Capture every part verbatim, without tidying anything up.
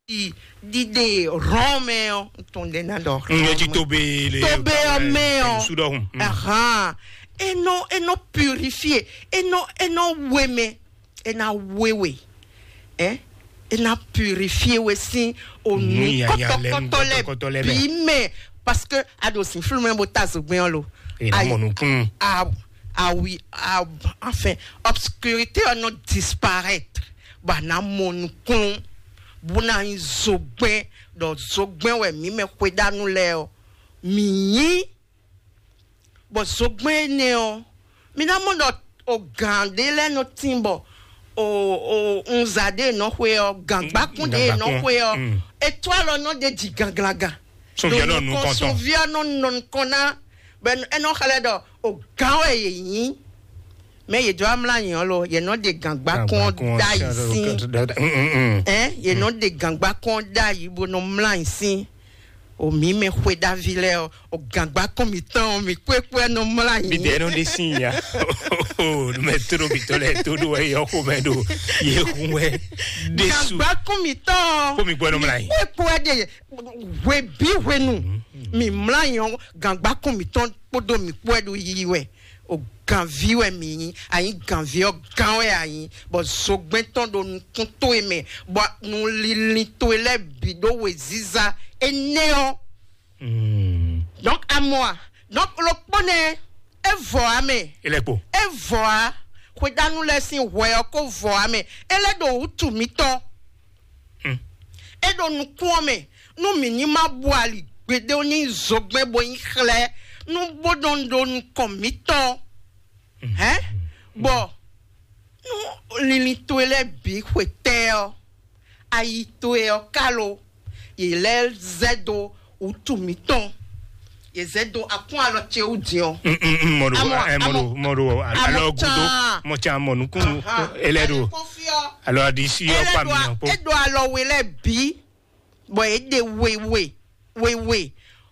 ɖiɖe Rɔn mɛ ɔ́, n tɔn ɖe ná ɖɔ. N yɛ jí tobe le. Tobe ɔ́ mɛ ɔ́. Sudɔhun. Ahan. E nɔ e nɔ purifier, e nɔ e nɔ we mɛ, e na we we. Ɛ e na purifier we sín onu kɔtɔkɔtɔ lɛ bí mɛ, parce que a ɖo sin flú mɛ bó ta zogbɛn ɔ́ lo. E na mɔ nukun. Awi, enfin, obscurité ɔ́ nɔ disparaître, bɔ a nǎ mɔ nukúnnú, bó ná nyí zogbɛ́n, ɖɔ zogbɛ́n wɛ mǐ mɛ xwedánú lɛ́ɛ ɔ́, mǐ nyí. Bɔ zogbɛ́n énɛ́ ɔ́, mi ná mɔ ɖɔ o gǎn ɖé lɛ́ɛ nɔ tín bɔ o o unza ɖé nɔ xwe ɔ́, gǎngbákún ɖé nɔ xwe ɔ́, etwálɔ nɔ ɖe jǐ ganglagan. Sunviɔ nɔ nukɔn tɔn. Sunviɔ nɔ nɔ nukɔn ná, bɛ ɛ nɔ xlɛ́ ɖɔ o gǎn wɛ yě nyí. Mɛ yě jɔ amla nyi ɔ́ lo, yě nɔ ɖe gǎngbákún ɔ́ ɖ'ayǐ sín. Ɛ yě nɔ ɖe gǎngbákún ɔ́ ɖ'ayǐ bó nɔ mla nyi sín. O mǐ mɛ xwe ɖavi lɛ́ɛ ɔ́, o gǎngbákún mǐtɔn ɔ́, mǐ kpékpé nɔ mla nyi. Mi dɛ nɔ ɖe sín ya. O mɛ tló mitɔn lɛ tó ɖo wɛ yɔ xomɛ ɖo yě hun wɛ ɖésú. Gǎngbákún mǐtɔn ɔ́, kó mi gbɔ nɔ mla nyi. Kpékpé ɖe hwe bí hwenu mi mla nyɔ gǎngbákún mǐtɔn kpódó mǐ kpó wɛ ɖo yiyi wɛ. O gǎnví wɛ mǐ nyí, a nyí gǎnví ɔ́, gán wɛ a nyí, bɔ zogbɛ́n tɔn ɖo nukún towe mɛ, bɔ nu linlin towe lɛ́ɛ bǐ ɖó wěziza énɛ́ ɔ́. Donc amɔ a, donc ɖokpó nɛ, é vɔ a mɛ. Ilẹ̀kpo. É vɔ a, xwedánú lɛ́ɛ sín hwɛ ɔ́ kó vɔ a mɛ. É lɛ́ ɖo wútu mǐtɔn. É ɖo nukún ɔ́ mɛ, nú mǐ ní ma bu ali gbeɖé ní zogbɛ́n bó nyí xlɛ́, nú bó nɔ ɖo nukɔn mǐtɔn. Hɛn, bɔ nú linlin towe lɛ́ɛ bǐ xwetɛ́ ɔ́, ayi towe ɔ́ ka lo, yě lɛ́ zɛ dó wútu mǐtɔn, yě zɛ dó akún alɔ ce wú din ɔ́. Mɔɖo, mɔɖo, mɔɖo, alɔ gudo, mɔtsa mɔnukunu, elɛ ɖo alɔ adisi ɔ́ kpa mi nɔ kpó. É ɖo alɔ we lɛ́ɛ bǐ, bɔ é ɖe wewe wewe,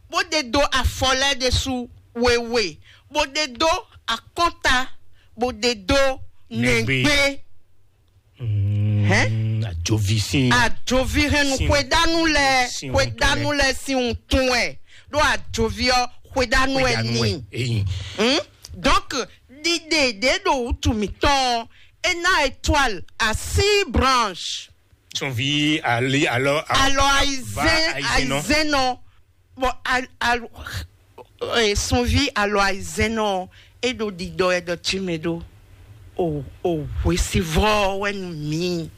bó ɖe dó afɔ lɛ́ɛ ɖésú wewe, bó ɖe dó akɔ́nta, bó ɖe dó nɛgbé. Hɛn? Ajovi sín. Ajovi hɛn nu xwedánú lɛ, xwedánú lɛ sín wuntun wɛ, ɖó ajovi ɔ́ xwedánú wɛ ní. Donc ɖiɖe ɖě ɖo wútu mǐtɔn ɔ́, é ná étoile à six branches. Son vi ali alɔ. Alɔ ayizɛn ayizɛn nɔ. Bon, al, al, eh, sunvi alɔ ayizɛn nɔ, é ɖo ɖiɖɔ ɛ ɖɔ tsi mɛ ɖo. O o hwesivɔ wɛ nu mi.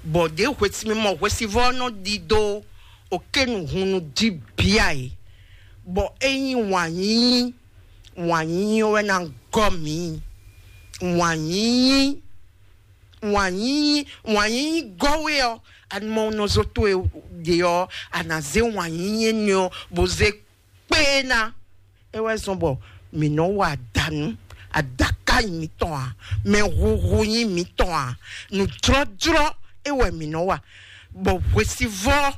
Bɔ ɖe hwesi mi mɔ hwesivɔ nɔ ɖiɖo o ke nu hunu di bia yi. Bɔ eyin wanyinyi, wanyinyi wɛ na gɔ mi. Wanyinyi, wanyinyi, wanyinyi gɔ we ɔ, anumɔ nɔ zo to e ɖe ɔ, ana ze wanyinyi ne ɔ, bo ze kpé ná. É wɛ zɔn bɔ mǐ nɔ wa adanu, adaka nyi mǐtɔn a, mɛ huhu nyi mǐtɔn a, nǔjlɔ́jlɔ́ é wɛ mǐ nɔ wa, bɔ hwesivɔ́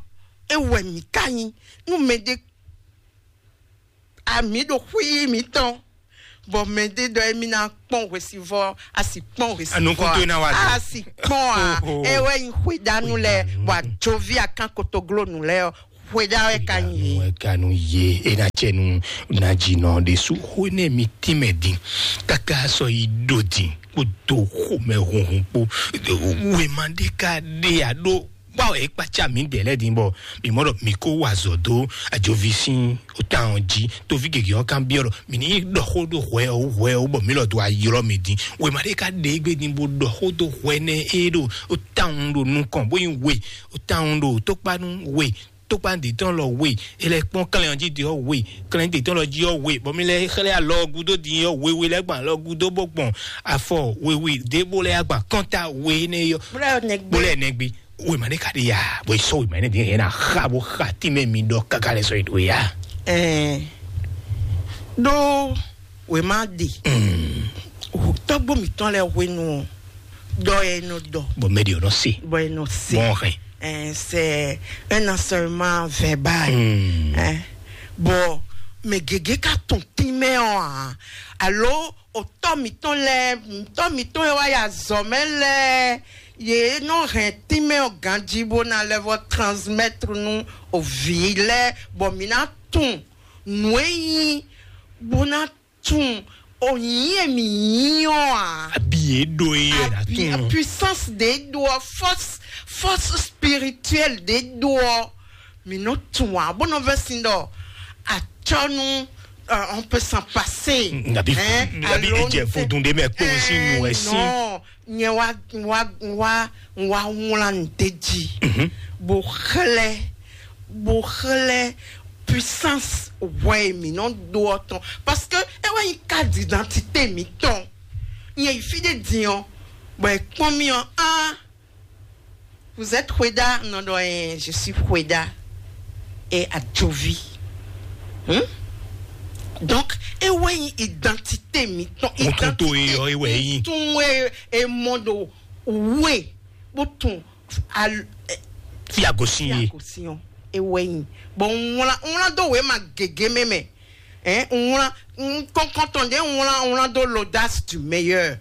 é wɛ mǐ ka nyi. Nú mɛɖé ami ɖo xwí mǐtɔn, bɔ mɛɖé ɖɔ émí ná kpɔ́n hwesivɔ́, a sì kpɔ́n hwesivɔ́. Anukun to ná wa do. A sì kpɔ́n a. Ɛ wɛ nyi xwedanu lɛ, bɔ ajovi akan kotoglonu lɛ ɔ, xweda wɛ ka nyi. Ɛ ka nu ye, e na cɛ nu na dzi nɔ ɖe su xo ne mi tínmɛ din, kaka sɔ yi ɖo din kpódó xomɛ hunhun kpó. Wema ɖé ka ɖe a ɖó. Kpɔ e kpatsa mi ɖe lɛ din bɔ mi mɔ ɖɔ mi ko wa azɔ do ajovi sin o tan ɔ ji, tovi gege ɔ kan biɔ ɖɔ mi ni ɖɔ xó ɖo hwɛ o hwɛ o bɔ mi lɔ do ayɔlɔ mi din. Wema ɖe ka ɖe egbe din bo ɖɔ xó do hwɛ nɛ e ɖo o tan ɖo nukɔn bo yin we, o tan ɖo tokpanu we, tokpan de tɔn lɔ we, e lɛ kpɔn klɛn ɔ ji de ɔ we, klɛn de tɔn lɔ ji ɔ we, bɔ mi lɛ xlɛ alɔ gudo din ɔ we we lɛ gban alɔ gudo bɔ gbɔn afɔ we we de bo lɛ agban kɔnta we ne yɔ. Bó lɛ nɛgbe. Wema ɖé ka ɖe ya, bɔ e sɔ wema ne din yɛ na xa bo xa ti mɛ mi ɖɔ kaka lɛ sɔ yi ɖo ya. Ɛɛ ɖó wema ɖe. Tɔgbo mitɔn lɛ hwenu ɔ, ɖɔ yɛ nɔ ɖɔ. Bɔ mɛ ɖe ɔ nɔ se. Bɔ yɛ nɔ se. Bɔn hɛn. Ɛɛ c'est un enseignement verbal. Ɛɛ bɔ mɛ gege ka tun tin mɛ ɔ a, alo o tɔ mitɔn lɛ, tɔ mitɔn yɛ wa ya zɔ mɛ lɛ. Yě nɔ hɛn tínmɛ ɔ́ ganjí bó ná lɛ́ vɔ transmettre nú vǐ lɛ́ɛ, bɔ mǐ ná tunwun nǔ e nyí, bó ná tunwun o nyǐ e mǐ nyí ɔ́ ǎ. Abi yě ɖo é yɛ ná Abi a tunwun. Puissance ɖě ɖó ɔ́, force, force spirituelle ɖě ɖó ɔ́, mǐ nɔ tunwun ǎ, bó nɔ vɛ́ sin ɖɔ acɔ́nú, euh, on peut s'en passer. Nabi, Hein? Nabi Alo, ejɛ vodun ɖé mɛ kpó un sín nu ɛ sín. Non, nyɛ wá, wá, wá, wá wlán nǔ d'é jí, bó xlɛ́, bó xlɛ́ puissance hwɛ e mǐ nɔ ɖó ɔ́ tɔn, parce que é wɛ nyí carte d'identité mǐtɔn. Nyɛ yi fí ɖé din ɔ́, bɔ è kpɔ́n mì ɔ́, ah, vous êtes Hweda? Non, non, eh, je suis Hweda et Adjovi. Hmm? Donc, é wɛ nyí identité mǐtɔn. Kúntún tó é ɔ́, é wɛ é nyí. Kúntún é, é mɔ ɖo wú é, bó tún al-, eh, Fi agosin fi yé. Agosin ɔ́, é wɛ nyí. Bon, un wlán, un wlán dó wěma gěgé mɛ mɛ. Hein, un wlán, un kɔnkɔn tɔn ɖě un wlán, un wlán dó l'audace du meilleur.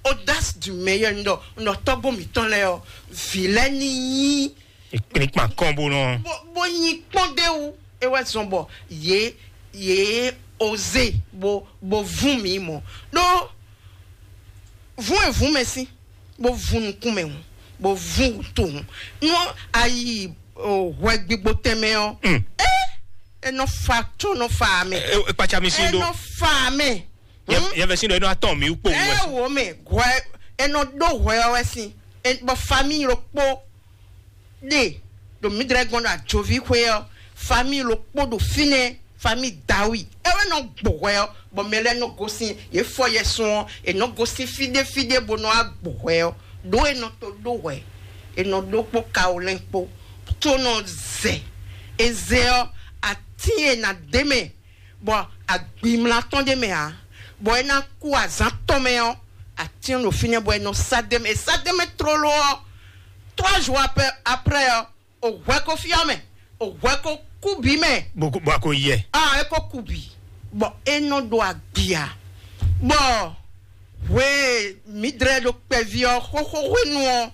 Audace du meilleur, un ɖɔ, un ɖɔ tɔ́gbó mǐtɔn lɛ́ɛ ɔ́, vǐ lɛ́ɛ ní nyí Kplikpan kɔn bó nɔ. Bó, bó nyi kpɔ́n ɖé wú, é wɛ zɔn bɔ yě, yě oze bó, bó vún mǐ mɔ. Ɖó vún e vún mɛ sín, bó vún nukún mɛ hǔn, bó vún wútu hǔn. Nú a yi, o, hwɛ gbígbó tɛnmɛ ɔ́, Mm. é, é nɔ fa có nɔ fa mɛ. E, e kpatsa mi sín É ɖó. Nɔ fa mɛ. Yɛ, Hmm? Yɛ vɛ sín ɖɔ é nɔ atɔn mi kpó wú wɛ. Ɛ wo mɛ, hwɛ, é nɔ ɖó hwɛ ɔ́ wɛ sín. É, bɔ famille ɖokpó ɖe ɖo mǐdrɛ́ gɔ́n ɖo Ajoví xwé ɔ́, famille ɖokpó ɖo fínɛ́, famille Dawi. É wɛ nɔ gbɔ hwɛ ɔ́, bɔ mɛ lɛ́ɛ nɔ gosín, yě fɔ yɛsun ɔ́, è nɔ gosín fí ɖé fí ɖé bó nɔ wá gbɔ hwɛ ɔ́. Ɖó è nɔ to ɖó hwɛ, è nɔ ɖó kpó kawolɛ́n kpó, tó nɔ zɛ. È zɛ ɔ́, atín e nǎ d'é mɛ, bɔ agbimla tɔn ɖ'é mɛ ǎ, bɔ é ná kú azǎn tɔn mɛ ɔ́, atín ɖo fínɛ́ bɔ è nɔ sá d'é mɛ. È sá d'é mɛ tlóló ɔ́, trois jours après, après ɔ́, o hwɛ ko fyɔ́ mɛ, o hwɛ ko kú bǐ mɛ. Bó kó- bó a ko yɛ. Ah, é ko kú bǐ, bɔ é nɔ ɖo agbi ǎ, bɔ hwe mǐdrɛ́ ɖo kpɛví ɔ́ xóxó hwenu ɔ́,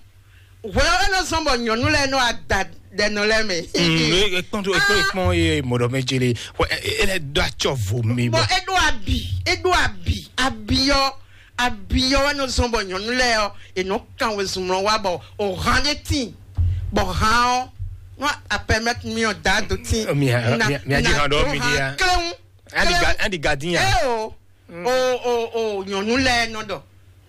hwe ɔ́ é nɔ zɔ́n bɔ nyɔ̌nu lɛ́ɛ nɔ ada ɖɛnɔ lɛ́ɛ mɛ. Mm, e- ekpɔn tó ekpɔn ekpɔn ye mɔdɔ mɛ jele. Wɛ e- e lɛ do atsɔ vo mi Bɔ bɔ. É ɖo abi, é ɖo abi, abi ɔ́, abi ɔ́ wɛ nɔ zɔ́n bɔ nyɔ̌nu lɛ́ɛ ɔ́, è nɔ kan wezun mlɔ wá bɔ o hán ɖé tín, bɔ hán ɔ́ nɔ apɛmɛt mi ɔ da do tín. Mi a- mi a- mi a jí hàn ɖɔ mi ɖi ya. Klɛ́ŋu. Andi ga- andi gadin ya. É o, o o o nyɔ̌nu lɛ́ɛ nɔ ɖɔ,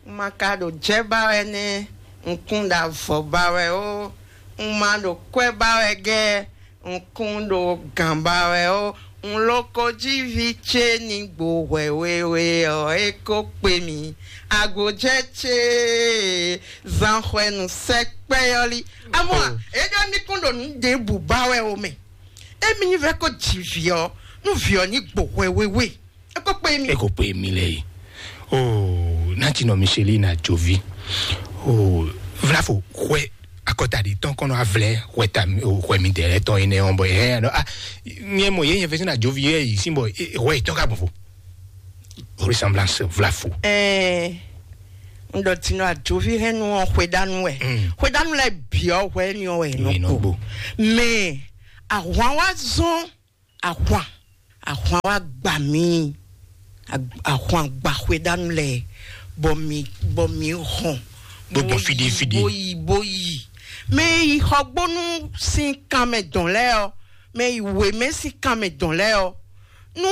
un ma ka ɖo jɛ́ ba wɛ nɛ́, un kún ɖo avɔ ba wɛ ó, un ma ɖo kwɛ́ ba wɛ gɛ́, un kún ɖo gǎn ba wɛ ó, un loko jí vǐ ce ní gbo hwɛ wéwé ɔ́, é ko kpe mì, agbojɛ́ ce zan hwɛ nǔ sɛkpɛ́ ɔ́ lí. Amɔ Oh. É ɖɔ mì kún ɖo nǔ ɖěbǔ ba wɛ ó mɛ. Émi ní vɛ́ kó ji vǐ ɔ́, nú vǐ ɔ́ ní gbo hwɛ wéwé, é kó kpe mi. E ko pe mi lɛ yi. Oh, nati nɔ Micheline Adjovi. Oh, vlafo hwɛ akɔta ɖi tɔn kɔnɔ avlɛ hwɛ ta mi- oh, hwɛ mi dɛ lɛ tɔn yi nɛ ɔn bɔ yɛ nɔ ah, nyɛ mɔ yɛ nyɛ fɛ sin Adjovi yɛ yi sin bɔ eh, hwɛ yi tɔn ka bɔ fo. Ressemblance vlafo. Ɛɛ, n ɖɔ tinɔ Adjovi hɛn nu ɔn hwedanu wɛ. Mm. Hwedanu lɛ biɔ hwɛ ni ɔn wɛ Ni nɔ nɔ kpo. Kpo. Mɛ ahwan wa zɔn ahwan ahwan wa gba mi. Ag- ahwan gba hwedanu lɛ bɔ mi bɔ mi hɔn. Bó gbɔn Bó yi- fidi, fidi. Bó yi bó yi. Mɛ yi xɔgbónu sin kanmɛ dɔn lɛ ɔ, mɛ yi wemɛ sin kanmɛ dɔn lɛ ɔ, nu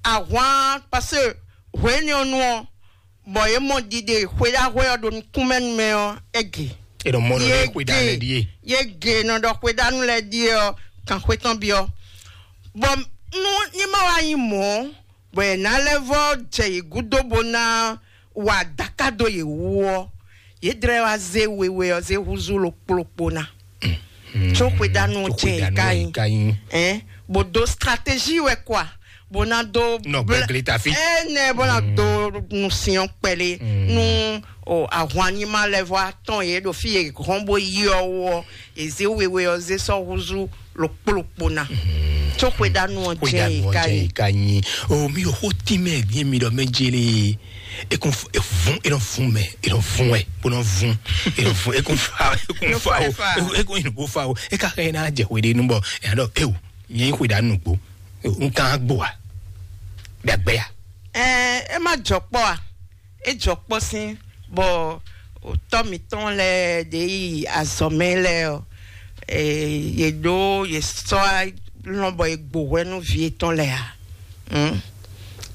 ahwan parce que hwenu ɔ nu ɔ, bɔ ye mɔ ɖiɖe xwedahwe ɔ ɖo nukúnmɛnu mɛ ɔ, ege. E ɖo mɔ ɖɔ ye xwe ɖa lɛ ɖie. Ye ge nɔ ɖɔ xwedanu lɛ ɖie ɔ, kan xwe tɔn biɔ. Bɔ nu ní ma wá nyí mɔ̌, bɔ è nǎ lɛ́ vɔ́ jɛ yě gúdo bó ná wa daka dó yě wú ɔ́, yě dlɛ́ wá zé wewe ɔ́ zé húzú ɖokpó ɖokpó ná. Tso xwedanu Tso tse xwedanu ka yi. Ka yi. Ɛn, bó dó stratégie wɛ kwa, bó ná dó Nɔ blɛ- gbɛgli ta fi. Ɛnɛ bó ná dó nusiɔn kpɛlɛ nu o ahwan ní ma lɛ vɔ atɔn yě ɖo fi yě hɔn bó yi ɔ́ wɔ èzé wewe ɔ́ zé sɔ́ húzú ɖokpó ɖokpó ná. Tó xweɖanu ɔ́ jɛ yi ka yi. Ka nyi. O mi o xo tínmɛ dín mi ɖɔ mɛ jele. E kún f- e vun e nɔ vun mɛ e nɔ vun wɛ bó nɔ vun e nɔ vun e kún fa e kún Nɔ fa fa o e fa. E kún e nɔ bó fa o e ka xɛ na jɛ xwe ɖe nu bɔ e na ɖɔ e o nyɛ yi xweɖanu nukpo. N kan agbo wa ɖagbe ya. Ɛ ɛ má jɔ kpɔ a. E jɔ kpɔ sín bɔ tɔ́ mitɔn lɛ ɖe yi azɔmɛ lɛ ɔ, ɛ yɛ ɖo yɛ sɔ lɔn bɔ yɛ gbo hwɛ nú vi etɔn lɛ a. Hmm?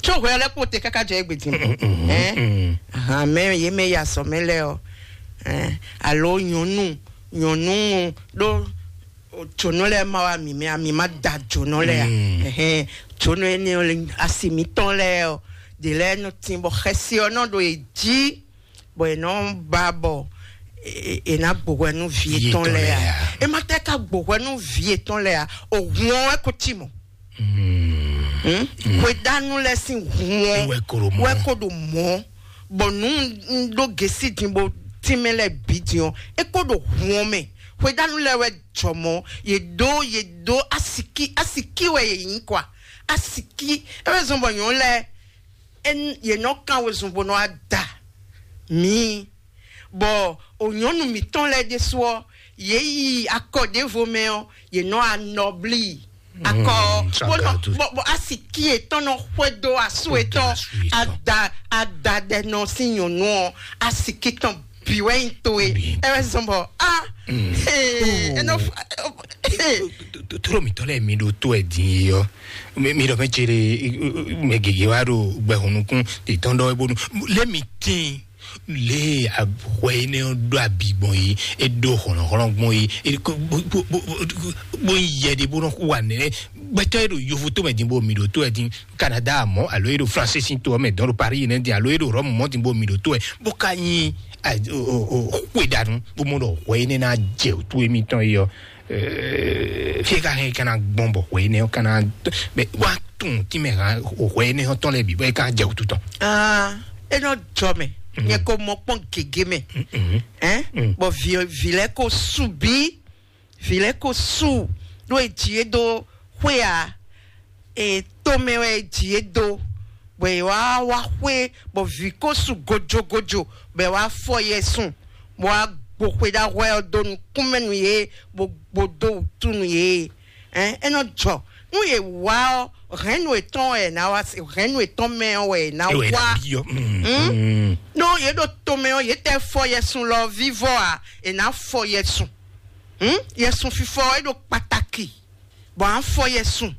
Tso hwɛ lɛ kpo te kaka jɛ egbe din. Ɛ ahan mɛ yɛ mɛ yi azɔmɛ lɛ ɔ, ɛ alo nyɔnu nyɔnu ɖo o tsonɔ lɛ ma wa mi mɛ ami ma da tsonɔ lɛ a. Ɛhɛn, tsonɔ yɛ ne asi mitɔn lɛ ɔ de lɛ nɔ tin bɔ xɛsi ɔ nɔ ɖo e jí bɔ e nɔ ba bɔ e na gbohwɛ nú vi etɔn lɛ a. E ma tɛ ka gbohwɛ nú vi etɔn lɛ a, o hun ɔ wɛ ko ti mɔ. Hweɖanu lɛ sin hun ɔ wɛ ko ɖo mɔ bɔ nu ɖo gesi din bo tínmɛ lɛ bǐ din ɔ, e ko ɖo hun ɔ mɛ. Hweɖanu lɛ wɛ jɔ mɔ ye ɖó ye ɖó asiki asiki wɛ ye nyí kwa. Asiki e wɛ zɔn bɔ nyɔ̌nu lɛ e n- ye nɔ kan wezun bó nɔ ada mǐ bɔ o nyɔnu mǐtɔn lɛ ɖésú ɔ ye yi akɔ ɖěvo mɛ ɔ ye nɔ anɔblí akɔ ɔ bó nɔ bó bó asiki etɔn nɔ xwedó asu etɔn ada ada ɖɛ nɔ sí nyɔnu ɔ asiki tɔn bi wɛ nyi to e ɛ wɛ zɔn bɔ a ee ɛnɔ Toro mitɔ lɛ mi ɖo to ɛ din yi ɔ mi ɖɔ mɛ tsere mɛ gege wa ɖo gbɛhùn nukún titɔn ɖɔ bónú lé mi tín lé ahwɛ yi ne ɖo abi gbɔn yi e ɖo hɔnɔhɔnɔ gbɔn yi bó yi yɛ ɖe bó nɔ wa nɛ gbɛtɔ yi ɖo yovo to mɛ din bó mi ɖo to ɛ din Canada mɔ alo e ɖo France sin to mɛ dɔn ɖo Paris ne din alo e ɖo Rome mɔ din bó mi ɖo to ɛ bó ka nyi xwe ɖanu bó mɔ ɖɔ hwɛ yi ne na jɛ to emitɔn yi ɔ fi ka hɛn kana gbɔn bɔ hwɛ yi ne kana bɛ wa tun ti mɛ ha hwɛ yi ne tɔn lɛ bi bɔ e ka jɛ tu tɔn. Ah, e nɔ jɔ mɛ nyɛ ko mɔ kpɔn gege mɛ ɛn bɔ vi vi lɛ ko su bi vi lɛ ko su ɖo e ji e do xwe a e to mɛ wɛ e ji e do bɔ e wa wa xwe bɔ vi ko su gojogojo bɔ e wa fɔ yɛ sun bɔ wa gbo xwe ɖa hwɛ ɔ do nukúnmɛ nu ye bo gbo do wutu nu ye ɛn e nɔ jɔ nu ye wa ɔ hɛn nu etɔn wɛ na wa se hɛn nu etɔn mɛ ɔ wɛ na wa no ye ɖo to mɛ ɔ ye tɛ fɔ yɛ sun lɔ vivɔ a e na fɔ yɛ sun hmm? Yɛ sun fifɔ e ɖo pataki bɔ a fɔ yɛ sun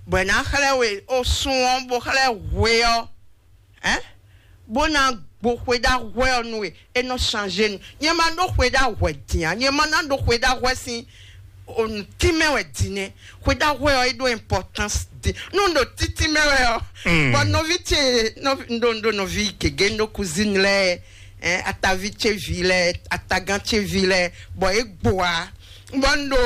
bɔ e na xlɛ we o sun ɔ bo xlɛ hwe ɔ ɛn bó ná gbo xwe ɖa hwɛ ɔ nú we é nɔ change nu nyɛ ma ɖó xwe ɖa hwɛ din a nyɛ ma ná ɖó xwe ɖa hwɛ sín onu tí mɛ wɛ din nɛ xwe ɖa hwɛ ɔ é ɖó importance din nu ɖo títí mɛ wɛ ɔ bɔ nɔvi ce nɔvi ndo ndo nɔvi gege ndo cousine lɛ ɛn atavi ce vi lɛ atagán ce vi lɛ bɔ é gbo a bɔ ndo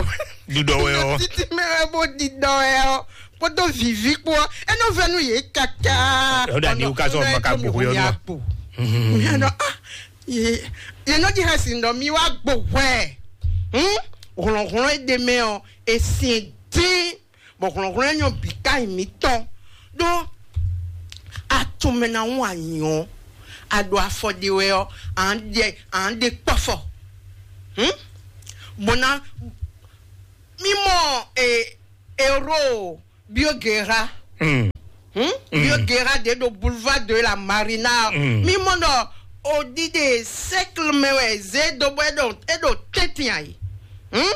Ɖuɖɔ wɛ ɔ. Títí mɛ wɛ bó ɖiɖɔ wɛ ɔ kpódó vivi kpó ɔ é nɔ vɛ nú yě kaka. Ɔ ɖa ni wò ká sɔ ma ka gbogbo yɔ nua. Mia nɔ ah ye ye nɔ di hɛ si nɔ mi wá gbo hwɛ hmm hlɔnhlɔn e ɖe mɛ ɔ e sin dín bɔ hlɔnhlɔn e nyɔ bi ka yi mi tɔn ɖó atɔmɛ na ŋu anyɔ aɖo afɔ ɖe wɛ ɔ à ń ɖe à ń ɖe kpɔfɔ hmm bɔna mímɔ e ero biogera hmm biogera de ɖo boulevard de la marina mímɔ nɔ odide cercle mɛ wɛ zé do bɔ eɖo eɖo tɛntin ayi hmm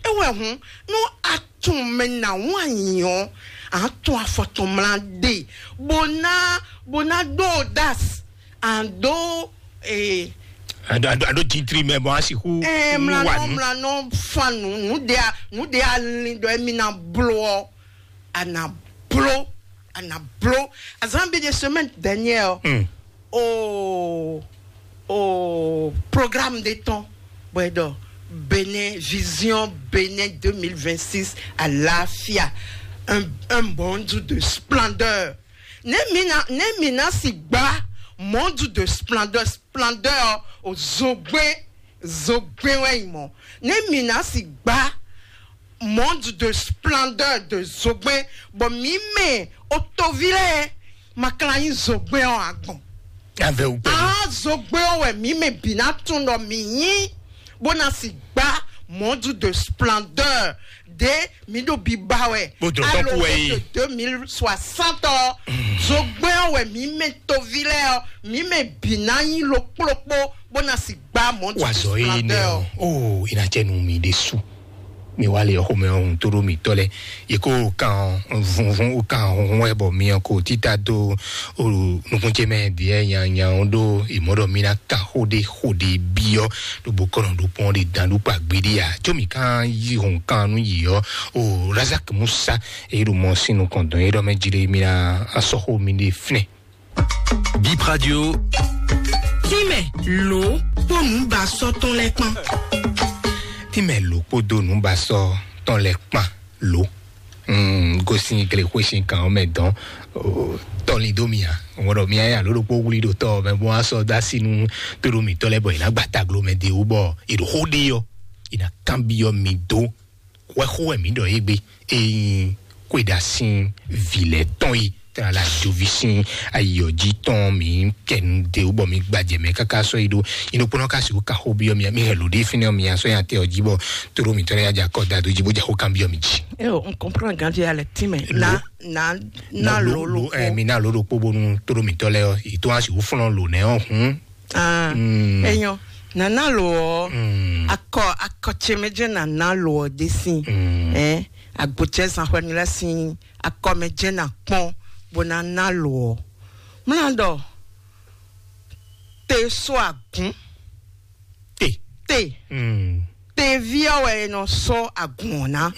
ewɛ hun nu atun mɛ na ŋu anyi ɔ atun afɔtɔn mla de bona bona do das ando ee ado ado ado titri mɛ bɔn asiku ɛɛ mlanɔ mlanɔ fanu nu de a nu de a lin dɔ emi na blo ɔ a na blo a na blo azan bi de semaine dernière ɔ o o programme de temps bɔ ɛ dɔ Bénin vision Bénin deux mille vingt-six à l'afia un un monde de splendeur ne mina ne mina si gba monde de splendeur splendeur o zogbe zogbe wɛ yi mɔ ne mina si gba Monde de splendeur de Zogbɛn, bɔ mǐ mɛ o toví lɛ́ɛ ma ka ná nyí Zogbɛn ɔ́ agbɔn. Avɛ wú pɛ́lú. Ah, Zogbɛn ɔ́ wɛ mǐ mɛ bǐ ná tunwun ɖɔ mǐ nyí, bó ná si gbá monde de splendeur ɖě mǐ ɖo biba wɛ. Bó dlɔ̌ tɔ́n kú wɛ é. De deux mille soixante ɔ́, Zogbɛn ɔ́ wɛ mǐ mɛ toví lɛ́ɛ ɔ́, mǐ mɛ bǐ ná nyí lokplokpó, bó ná si gbá monde de splendeur. Wazɔ yé nɛ ɔ́, ó, é ná jɛ nú mi ɖésú. Mi wá lɛ xomɛ ɔ́, hun tó ɖó mǐtɔn lɛ́ɛ. Yě kó kan vunvun, ó kan hunhun wɛ bɔ mi ɔ́ ko títá dó nukún ce mɛ ɖiɛ nyanya ɔ́ ɖó ìmɔ́ ɖɔ mi ná kan xó ɖé xó ɖé byɔ́ ɖo bó kɔnɔ ɖó pɔn ɖé dan ɖó kpa gbeɖé ǎ. Có mi kan yí hun kan nú yǐ ɔ́, o Razak Musa, èyí ɖo mɔ sín nukɔn dɔn yé ɖɔ mɛ jí ɖé mi ná asɔxó mi ɖé fínɛ. Bip Radio. Tínmɛ lǒ kpó nǔbasɔ́ tɔn lɛ́ɛ kpán. Tínmɛ lǒ kpódó nǔbasɔ́ tɔn lɛ́ɛ kpán lǒ. Mm, gosín glexwé sín kan ɔ́ mɛ dɔn tɔlin dó mì ǎ. Ŋɔ ɖɔ mi ayé alo ɖokpó wlí ɖo tɔ mɛ bó wá sɔ́ dó así nú tóɖó mǐtɔn lɛ́ɛ bɔ è nǎ gba taglo mɛ de wú bɔ è ɖo xó ɖe ɔ́, è nǎ kanbyɔ́ mi dó. Hwɛxó wɛ mǐ ɖɔ égbé, ényí xwéɖa sín vǐ lɛ́ɛ tɔn yi tɛn ala joví sín ayǐ ɔ́ jí tɔn mǐ kɛnu de wú bɔ mǐ gbajɛ mɛ káká sɔ́ yi ɖó. Nyí ɖokpónɔ ka sixú ka xó byɔ́ mì, mì hɛn lǒ ɖé fínɛ́ ɔ́, mì asɔ́ nya tɛ ɔ́ jí bɔ tóɖó mǐtɔn lɛ́ɛ nya jɛ akɔ da dó jí bó jɛ xó kan byɔ́ mì jí. Eo, n comprend ganji alɛ tínmɛ. Na na na lǒ lǒ ɛ mi na lǒ ɖokpó bónú tóɖó mǐtɔn lɛ́ɛ ɔ́, yě tó wá sixú flɔ́n lǒ nɛ́ ɔ́ hǔn. Ah, enyo, nana lo ɔ, akɔ akɔ ce mɛ jɛ nana lo ɔ de sin. Eh, agbocɛ zanxɔni la sin akɔ mɛ jɛ na kpɔn bo nana lo ɔ. Mla dɔ te so agun. Te. Te. Tevi ɔ wɛ nɔ sɔ agun ɔ na.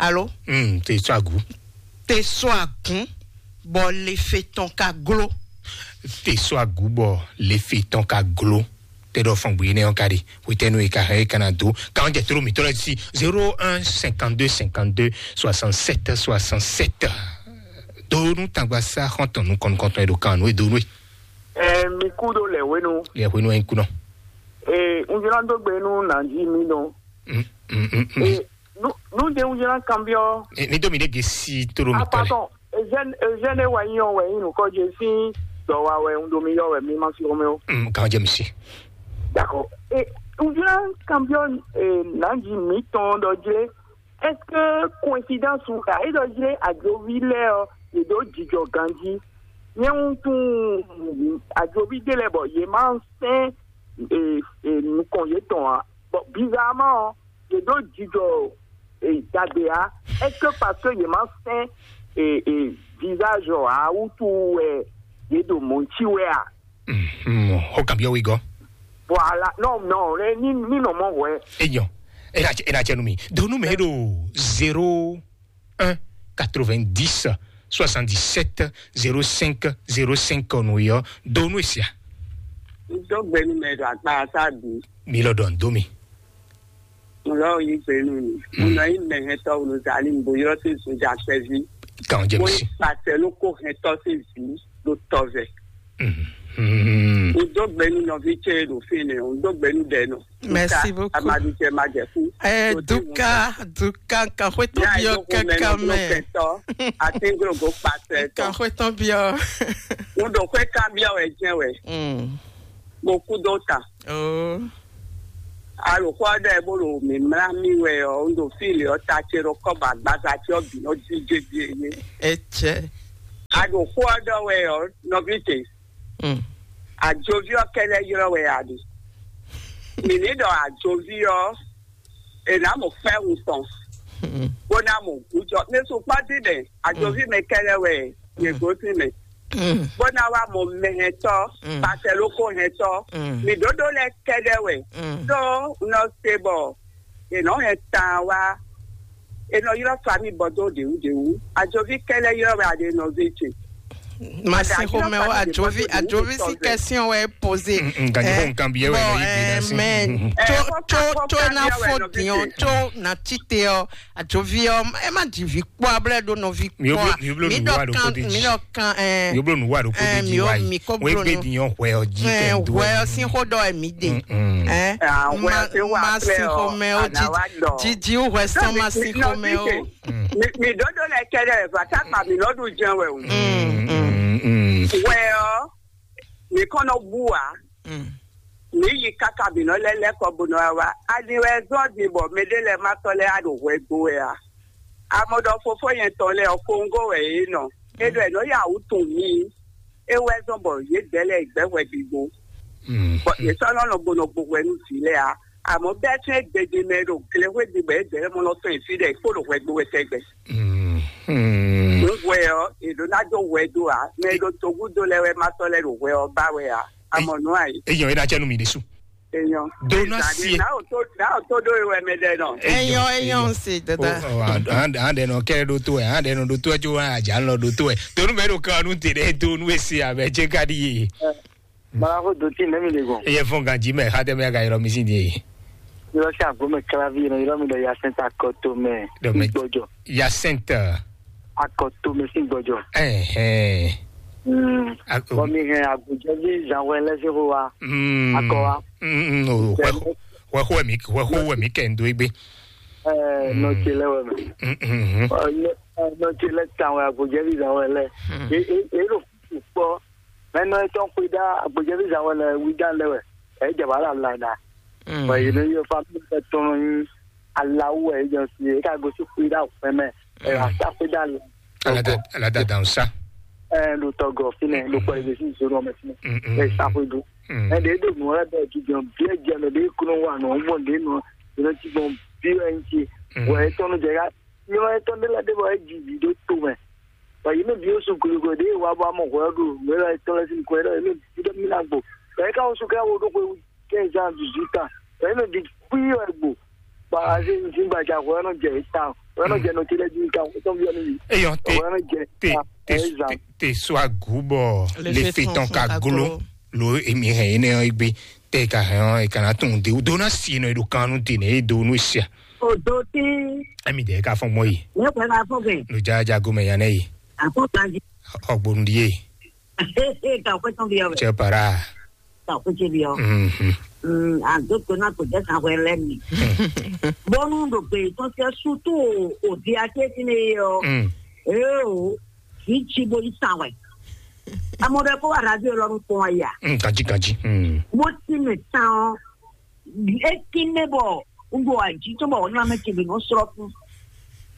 Alo? Te so agun. Te so agun bɔ le fe tɔn ka glo. Te so agun bɔ le fe tɔn ka glo. Te ɖɔ fɔn gbe ne ɔn ka ɖi. Wetɛnu e ka hɛn e kana do. Kan jɛ toro mi tɔlɔ si zéro un cinquante-deux cinquante-deux soixante-sept soixante-sept. Do nu tangba sa xɔntɔn nu kɔnukɔntɔn e do kan nu e do nu e. Ɛ mi kú ɖo lɛ wenu. Lɛ wenu e kunɔ. Ee, n jlá dó gbe nú nàjí mi nɔ. Mm, mm, mm, mm. Ee, nu nu de n jlá kanbiɔ. Eh, mi do mi de gesi toro mi tɔlɛ. Apatɔ, ezɛn ezɛn ne wa nyɔ wɛ yin nukɔ je sin dɔ wa wɛ n do mi yɔ wɛ mi ma si ome o. Mm, kan jɛ mi si. D'accord. Ee, n jlá kanbiɔ ee nàjí mi tɔn dɔ jlé. Est-ce que coïncidence ou ka e dɔ jlé ajovi lɛ ɔ, e do jijɔ ganji. Nyɛ un tun ajovi de lɛ bɔ ye ma sɛn e, e nukɔn yetɔn ǎ. Bon, bizarrement ɔ, yě ɖó jijɔ e dagbe ǎ. Est-ce que parce que yě ma sɛn e, e visage ɔ́ ǎ wútu wɛ yě ɖo mɔ̌ cí wɛ a? Xó kan byɔ́ wí gɔ́. Voilà, non, non, ní ní nɔ mɔ wɛ. Eyɔn, e na cɛ e na cɛ nu mi. Donu mɛ ɖo zéro un quatre-vingt-dix soixante-dix-sept zéro cinq zéro cinq nu yɔ. Donu esia. N dó gbɛnu mɛ ɖo akpa asa bi. Mi lɔ dɔn do mi. N lɔ yi gbɛnu mi. N nɔ yi mɛ hɛn tɔ wolo zali n bo yɔrɔ si soja kpɛvi. Kan jɛ mi si. Pàṣẹ ló kó hɛn tɔ si vi ló tɔ vɛ. N dó gbɛnu nɔvi cɛ ɖo fi nɛ, n dó gbɛnu dɛ nɔ. Merci beaucoup. Amadu cɛ ma jɛ fún. Eh, Duka, Duka, kan xwe tɔn biɔ kankan mɛ. Atenglogo pàṣẹ tɔ. Kan xwe tɔn biɔ. N dó xwe kan biɔ wɛ jɛ wɛ. Mm. Mo kú dó ta. Oh. Alòxɔ ɖe bó ɖo mǐmlá mì wɛ ɔ́, un ɖo fí lě ɔ́, ta ce ɖo kɔ́ bɔ agbaza ce ɔ́ bǐ nɔ díje jí é. Etsɛ. A ɖo xó ɔ́ ɖɔ wɛ ɔ́, nɔví ce, ajoví ɔ́ kɛ́ɖɛ́ ylɔ́ wɛ a ɖe. Mǐ ní ɖɔ ajoví ɔ́, è nǎ mɔ fɛ́hun tɔn, bó ná mɔ gǔjɔ. Ní sukpɔ́ dín mɛ, ajoví mɛ kɛ́ɖɛ́ wɛ yě gosín mɛ, bó ná wá mɔ mɛhɛntɔ́, pàtɛlókó hɛntɔ́, mǐ ɖóɖó lɛ́ɛ kɛ́ɖɛ́ wɛ. Ɖó un nɔ se bɔ è nɔ́ hɛn taan wá, è nɔ ylɔ́ famí bɔ dó ɖěwúɖěwú. Ajoví kɛ́ɖɛ́ ylɔ́ wɛ a ɖe nɔví ce. Masin xomɛ o, adzovi adzovi si question wɛ poze. Nkan jɔ nkan bi yɛ wɛ nɔ yi bi na si. Mɛ tso tso tso na fo diɔn tso na tite ɔ, adzovi ɔ, ɛ ma di vi kpɔ ablɛ do nɔvi kpɔ a. Mi dɔ kan mi dɔ kan ɛ. Mi blo nu wa do ko de di wa yi. Wɛ gbe diɔn hwɛ ɔ ji kɛ do. Hwɛ ɔ sin xo dɔ ɛ mi de. Ɛ ma sin xomɛ o, jiji hwɛ sɔn ma sin xomɛ o. Mi dɔdɔ lɛ kɛ dɛ vata kpa mi lɔdu jɛn wɛ o. Wɛ ɔ, mi kɔnɔ bu wa. Mi yi kaka mi nɔ lɛ lɛ kɔ bo nɔ wa. Ani wɛ zɔn di bɔ mɛɖe lɛ ma tɔ lɛ a ɖo hwɛ gbo wɛ a. Amɔ ɖɔ fofo yɛn tɔn lɛ ɔ, kongo wɛ yé nɔ. E ɖɔ ɛ nɔ ya wutun mi. E wɛ zɔn bɔ yé dɛ lɛ gbɛ hwɛ gbigbo. Bɔ yě sɔ́ nɔ nɔ gbo nɔ gbo hwɛ nú vǐ lɛ́ɛ ǎ. Àmọ́ bɛ́ tún é gbejí mɛ e ɖo glexwé ɖi bɔ é dɛ̌ mɔ nɔ fɛn fí ɖɛ kpó ɖo hwɛ gbo wɛ tɛgbɛ. Nǔ hwɛ ɔ́, è ɖǒ ná dó hwɛ dó ǎ. Mɛ e ɖo togúdo lɛ́ɛ wɛ ma sɔ́ lɛ́ ɖo hwɛ ɔ́ ba wɛ ǎ. Amɔ nǔ ayǐ. Eyɔn é ná cɛ nú mi ɖésú. Eyɔn. Do ná sie. Náà tó náà tó dó wɛ mɛ ɖɛ nɔ. Eyɔn eyɔn se dada. An ɖe nɔ kɛ ɖó tó ɛ, an ɖe nɔ ɖó tó ɛ tso wan àjà ń lɔ ɖó tó ɛ. Tónú mɛ ɖo kan nú tè ɖe tó nú esi abɛ jẹ ka ɖi ye. Balaxo dotí nɛmi le gɔn. Eye fún ganji mɛ xatɛ mɛ ka yɔrɔ mi sin die. Yɔrɔ si agbo mɛ kalavi yɛn yɔrɔ mi ɖɔ yasɛnta akɔto mɛ. Dɔ mɛ gbɔjɔ. Yasɛnta. Akɔto mɛ sin gbɔjɔ. Ɛhɛn. Mm. Bɔn mi hɛn agbojɛvi zanwɛ lɛ se xo wa. Mm. Akɔ wa. Mm, mm, o, hwɛ xo wɛ mi hwɛ xo wɛ mi kɛ ndo egbe. Ɛɛ nɔtse lɛ wɛ mɛ. Mm, mm, mm. Nɔtse lɛ tan wɛ agbojɛvi zanwɛ lɛ. E e e ɖo kpɔ. Mɛ nɔ etɔn xwe ɖa agbojɛvi zanwɛ lɛ wi dan lɛ wɛ. Ɛ jaba la la da. Bɔn yìí ní yɔ fa mi fɛ tɔn yín alawu ɛ jɔ si ɛ ká gosi xwe ɖa fɛn mɛ. Ɛ asa xwe ɖa lɛ. Alada alada dan sa. Ɛ ɖo tɔgɔ finɛ ɖo kpɔ ebe si zoro mɛ finɛ. Ɛ sa xwe do. Ɛ ɖe ɖo nù ɔlɛ bɛ jijɔ biɛ jɛ mɛ ɖe kúnɔ wa nɔ mɔ ɖe nɔ yìí ti gbɔn bi ɛ ŋti. Wɔ etɔn nu jɛ ká nyɔ etɔn ɖe la ɖe bɔ e ji vi ɖo to mɛ. Bɔ yìí mi bi osu kolikoli ɖe wa bɔ amɔ hwɛ ɖo nù ɛ etɔn lɛ si kɔ ɛ ɖɔ yìí mi bi ɖe mi na gbo. Bɔ e ka osu kɛ wo ɖo xwe quinze ans, dix-huit ans. Wɛ nɔ di kpí wɛ gbo. Ba aze ŋzi gbaja wɛ nɔ jɛ ta. Wɛ nɔ jɛ nɔ ti lɛ di ka wɛ tɔn bi ni. Eyɔn te te te te so agu bɔ le fe tɔn ka glo lo emi hɛn ene ɔ gbe te ka hɛn ɔ e kana tun de do na si nɔ edo kanu de ne e do nu sia. O do ti. Emi de ka fɔn mɔ yi. Ne ko ka fɔn gɛ. Lo ja ja go mɛ yan ne yi. A ko ka ji. Ɔgbonu di ye. Ka wɛ tɔn bi wɛ. Cɛ para. Ka kuce biɔ. Mm, a do ko na ko jɛ san hwɛ lɛ mi. Bɔnu do gbe tɔn tɛ sutu o di ake ti ne yɔ. Ee o, ki ci bo yi san wɛ. Amɔ ɖe ko wa radio lɔ nu kpɔn ya. Kanji kanji. Mo ti me tan o. E ki me bɔ n do aji to bɔ na me ti bi no srɔ fun.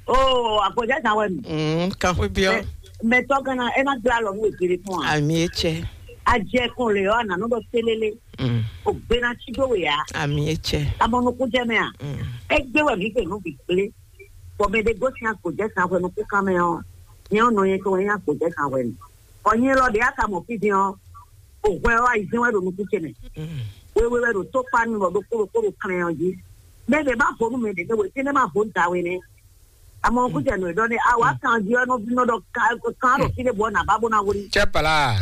Oo, àgbọ̀já ìdáwọ̀ ẹ̀ mi. Mm, kan xwé biɔ. Mɛ tɔ gana ena gbla lɔ nu ebere fún wa. Ami etsɛ. Ajɛ kun le yɔ ananɔ dɔ selele. Mm. O gbena ti do we ya. Ami etsɛ. Amɔnukun jɛ mɛ a. Mm. Egbe wɛ mi fɛ nu bi gble. Bɔ mɛ de gosi agbɔjɛ san wɛ nu kukan mɛ ɔ. Nyɛ ɔ nɔ yɛ to wɛ nyɛ agbɔjɛ san wɛ nu. Ɔ nyɛ lɔ de aka mɔ fi din ɔ. O hwɛ ɔ ayi zɛn wɛ do nukun ce mɛ. Mm. Wewe wɛ do to kpa nu lɔ do kolo kolo kan ɔ ji. Mɛ de ba vo nu mɛ de ne we ti ne ma vo da we ne. Àmọ́ kó jẹ́ nù ẹ̀dọ́ ni àwa kan di ọ́nà bí nọ́dọ̀ kan rò kí lè bọ́ nà bá bó náà wọlé. Cɛ pala.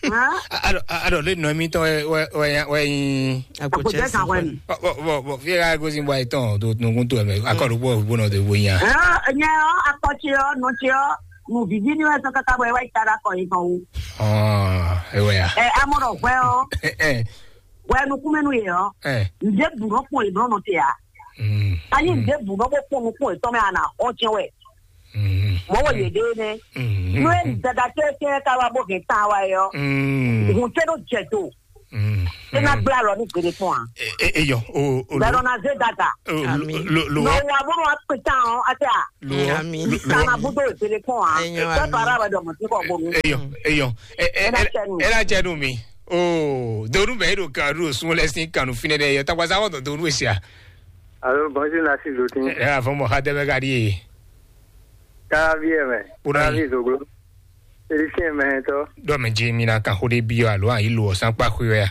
Hàn? Aɖɔ aɖɔ le nɔ mi tɔ wɛ wɛ wɛ wɛ yin. Àpò jẹ́ kan wẹ̀ mi. Bɔ bɔ bɔ fi ka gosi bɔ ayi tɔn to nukun to ɛmɛ akɔdo bɔ bɔ nɔ to bo yin. Ɛ nyɛ ɔ akɔtsi ɔ nɔtsi ɔ nù vivi ni wɛ sɔ kaka bɔ ɛ wá yi ta da kɔ yi kan o. Ɔn ewɛ ya. Ɛ amɔdɔ hwɛ ɔ. Wɛ nukumɛnu yɛ ɔ. Ɛ. Nde bu nɔ kpɔn yi nɔ nɔ te ya. Anyi ɖěbǔ nɔ bó kpɔ́n nukún yětɔn mɛ ana xɔ jɛn wɛ. Mɔ̌ wɔ yě ɖe nɛ́. Nú é dada kɛ́kɛ́ ká wá bó hɛn tan wá é ɔ́, hǔn tɛ́ nɔ jɛ do. É ná gblé alɔ ní gbeɖé fún wa. Eyɔ o o Bɛlɔ na zé dada. Lo lo lo Nɔ wa bó nɔ wá kpe tán ɔ́, á tɛ a. Lo Ami. Lo Kana búdó ìpele fún wa. Eyɔ, Bɛ́ ami. Bàrà wẹ̀ dɔ̀mọ̀ sí kọ̀ bonu. Eyɔ eyɔ. Ɛ ɛ Ɛ ná ɛ jɛ nù. Ɛ ná jɛ nù mí. O donu bɛ e ɖo kan ɖo sun lɛ sin kanu finɛ ɖe yɔ takpasa wɔ dɔ donu esia. Alo, bonjour, Nassim Zoutin. Ɛ afɔ mɔ xa tɛ bɛ ka ɖi ye. Kalavi ɛ mɛ. Kalavi zoglo. Félicien mɛ tɔ. Ɖɔ mɛ dzi mi na kan xo ɖe bi alo ayi lo ɔsan kpa xwe ya.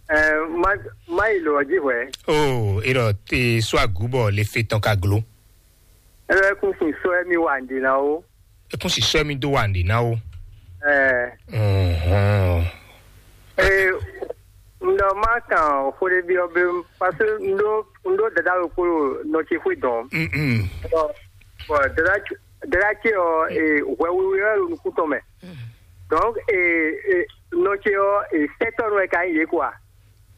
Ɛ ma ma yi lo ɔdzi hwɛ. O e ɖɔ te sɔ agu bɔ le fe tɔn ka glo. Ɛ lɛ kun sin sɔ ɛ mi wa ndi na o. E kun si sɔ ɛ mi do wa ndi na o. Ɛɛ, Mhm. ee, n ɖɔ má kan xó ɖé byɔ́ bé, parce que n ɖó n ɖó dada ɖokpó ɖo nɔ ce xwé dɔn. Mm-mm. Bɔ, bɔ dada ce, dada ce ɔ, ee, hwɛ wiwi wɛ ɖo nukún tɔn mɛ. Donc, ee, ee, nɔ ce ɔ, ee, sɛtɔ́ nɔ wɛ ka nyí yě quoi.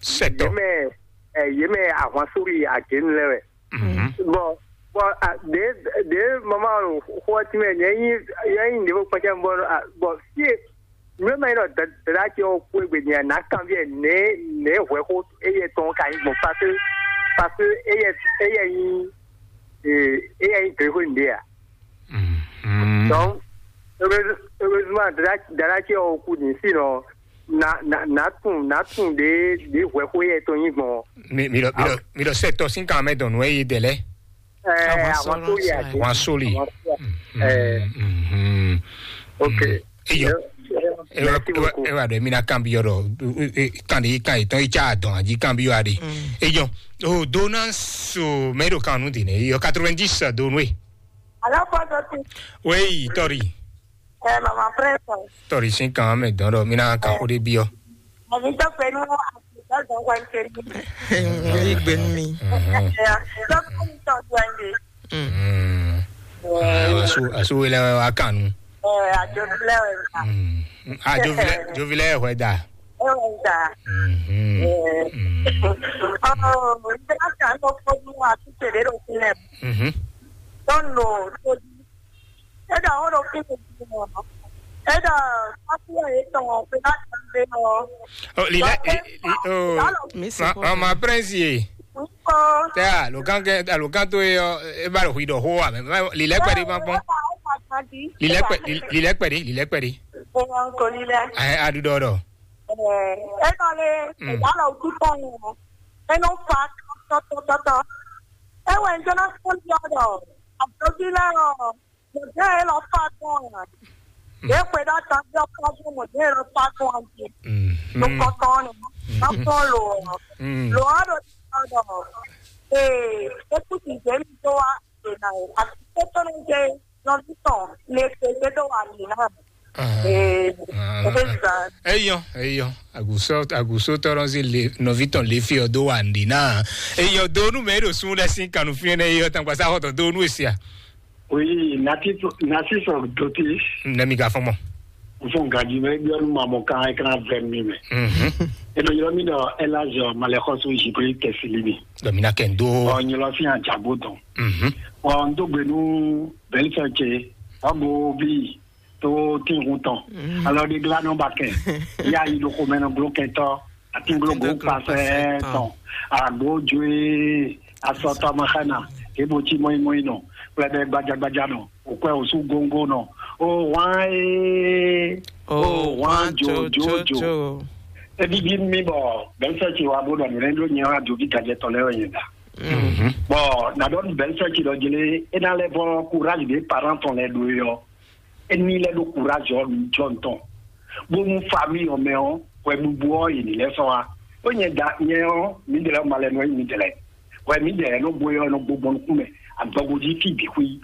Sɛtɔ́. Yě mɛ, ɛ, yě mɛ ahwan sórí agěnu lɛ́ɛ wɛ. Mhm. Bɔn, bɔn, a, ɖě ɖě mama ɖo xó ɔ́ tínmɛ, nyɛ nyí nyɛ nyí ɖěvo kpɛcɛ bɔ, a, bɔn fie nǔ e ma nyí ɖɔ dada ce ɔ́ kú egbe nyɛ nǎ kanví ɛ nɛ̌ nɛ̌ hwɛxó éyɛ tɔn ka nyí gbɔn, parce que, parce que éyɛ éyɛ nyí ee, éyɛ nyí gléxó nǔɖé a. Mhm. Donc, heureusement, dada dada ce ɔ́ kú din, sinon na na na tun na tun ɖě ɖě hwɛxó éyɛ tɔn nyí gbɔn. Mi mi ɖɔ mi ɖɔ mi ɖɔ sɛtɔ sín kan mɛ dɔn nǔ e yi dɛ lɛ. Ɛ, Àwọn àwọn tó yà sórí dé. Wọn sóli. Àwọn tó yà. Mhm. Ok. Eyɔ. Merci beaucoup. Ewa ɖe mi na kan bi yɔ ɖɔ kan de kan etɔn itsa adɔn aji kan bi yɔ aɖe. Eyɔ. O do na so mɛ ɖo kan nu de ne eyɔ quatre-vingt-dix do nu e. Alo, pɔtɔ ti. Oui, tɔri. Ɛ, mama prɛsɛ. Tɔri sin kan mɛ dɔn ɖɔ mi na kan o de bi yɔ. Mami tɔ pɛ nu a ti dɔ dɔn wɛn kɛ ni. Yi gbe nu mi. Ɛ, tɔ pɛ nu tɔ wɛn de. Mm. Asu asu wele wa kanu. Ɛ, ajo lɛ wɛ ta. Mm. Ajo vilɛ jo vilɛ wɛ da. Ɛ, wɛ ta. Mhm. Ɛ. Mm. Ɔ, n tɛ ka kan ko ko nu a ti tele do sinɛ. Mhm. Tɔn lo to di. E da o do kini di mo. E da a ti e tɔn o pe na kan de o. Oh, lilɛ. Oh. Mi se ma ko. Ma ma prince ye. Tɛ alokan kɛ alokan to ye ɔ e ba ɖo hui ɖɔ xo wa mɛ lilɛ kpɛ de ma kpɔn. Lilɛ kpɛ lilɛ kpɛ de lilɛ kpɛ de. Ɛ, aɖu ɖɔ ɖɔ. Ɛ, e nɔ le. Mm. Ìyá lɔ kú tɔn yẹn. E nɔ fa tɔtɔtɔtɔ. E wɛ n jɔna fún yọ ɖɔ. Àjọbí lɛ ɔ. Mɔdé e lɔ fa tɔn yẹn. Yé kpe ɖa ta bí ɔkọ fún mɔdé e lɔ fa tɔn yẹn. Mhm. Ló kɔtɔn ni. Kɔtɔn lo. Mm. Lo a ɖo ta ɖɔ. Ee, e kú ti jɛ mi tó wa. Ee, na o. Àti tó tó ní jɛ. Nɔvi tɔn le kpekpe dó wà mí ná. Ee, o bɛ zan. Eyɔ eyɔ agusɔ agusɔ tɔrɔ si le nɔvi tɔn le fi ɔ dó wà ní ná. Eyɔ donu mɛ ɖo sun ɖe sin kanu fi ne eyɔ tangba sa xɔtɔ donu esia. Oui, nati nati sɔ doti. Ne mi ka fɔn mɔ. Fún gaji mɛ bí ɔnu ma mɔ kan ɛ kan vɛ mi mɛ. Mhm. E nɔ yɔrɔ mi dɔ ɛlazɔ malɛxɔsu zibri tɛsili mi. Dɔ mi na kɛ n do. Ɔ nyɔlɔ fi hàn jagbo dɔn. Mhm. Ɔ n dó gbe nú bɛlisɛ ce ɔ bo bí tó tínhun tɔn. Mhm. Alɔ di gla nɔ ba kɛ ya yi ɖo xomɛ nɔ glo kɛntɔ atinglo go kpasɛ tɔn agbo joe asɔtɔ ma xana ebo tí mɔyi mɔyi nɔ kplɛ bɛ gbadzagbadza nɔ òkú ẹ̀ òsú góńgó nɔ. Ó wán é. Ó wán jòjòjò. Ebi bí mi bɔ bɛnsɛ ti wa bó dɔ nìlɛ ló nyɛ wá dòbí gajɛ tɔ lɛ yẹn da. Bɔ nàdɔ bɛnsɛ ti dɔ jele ena lɛ bɔ courage de parent tɔn lɛ do yɔ. Eni lɛ do courage ɔ jɔ ntɔn. Bó mu famille ɔ mɛ ɔ wɛ bubu ɔ yìí lɛ sɔ wa. Ó nyɛ da nyɛ ɔ mi dɛlɛ ma lɛ nɔ mi dɛlɛ. Wɛ mi dɛlɛ nɔ bo yɔ nɔ gbogbo nukun mɛ agbɔgbɔ jí fi bǐ xwí.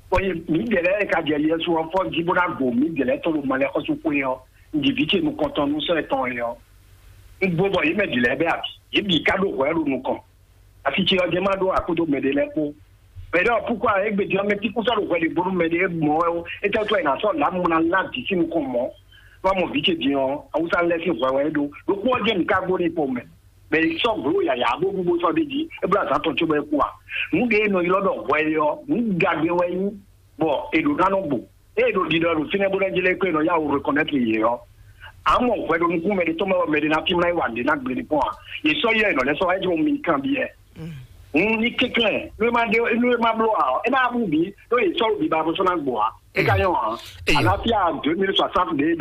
Bɔ ye mǐdɛɛ lɛ́ɛ e ka jɛ Yɛsu ɔ́ fɔ́n jí bó ná gbo mǐdɛɛ lɛ́ɛ tɔn ɖo malɛxɔ́súxwé ɔ́, un ɖi vǐ ce nukɔntɔn nú sɔ́ yɛtɔn é ɔ́. Un gbo bɔ yě mɛ bǐ lɛ́ɛ bɛ́ abǐ. Yě bǐ ka ɖó hwɛ̌ ɖo nukɔn. Asi ce ɔ́ jɛ́n má ɖó akúdo mɛɖé lɛ́ɛ kpó. Mɛɖé ɔ́ púkwa égbé din ɔ́, mɛ tí kú sɔ́ ɖo hwɛ ɖě bónú mɛɖé mɔ wɛ ó. É tɛ́ tɔ́ è nǎ sɔ́ lǎmú ná lá vǐ sín nukɔn mɔ̌. Nú a mɔ vǐ ce din ɔ́, awúsá lɛ́ɛ sín hwɛ wɛ é ɖó. Ɖokpó ɔ́ jɛ́n mǐ ka gbo n'i kpowun mɛ. Mɛ yi sɔ́ gblǒ yǎyá bó bú bó sɔ́ ɖ'é jí, é bló azǎn tɔn cóbɔ é kú a? Nǔ ɖé e nɔ ylɔ́ ɖɔ hwɛ é ɔ́, nǔ gagbe wɛ é nyí, bɔ è ɖǒ ná nɔ gbo. Ée è ɖo ɖiɖɔ ɖo fínɛ́ bó ná jlɛ́ kó è nɔ yá wǔ reconnaître yě ɔ́, a mɔ hwɛ ɖo nukún mɛɖé tɔn mɛ wɛ mɛɖé ná fí mlá yi wa nǔɖé ná gbe ní kpɔ́n a? Yě sɔ́ yɛ è nɔ lɛ́ sɔ́ wá é jɔ mi kanbyɔ́. Hun ní kɛnklɛ́n nú é má ɖé nú é má bló a ɔ́, é ná bú bǐ ɖó yě sɔ́ ɖo biba bó sɔ́ ná gbo a? É ka nyɔ́ a? Eyo. Àlàáfíà deux mille soixante ɖě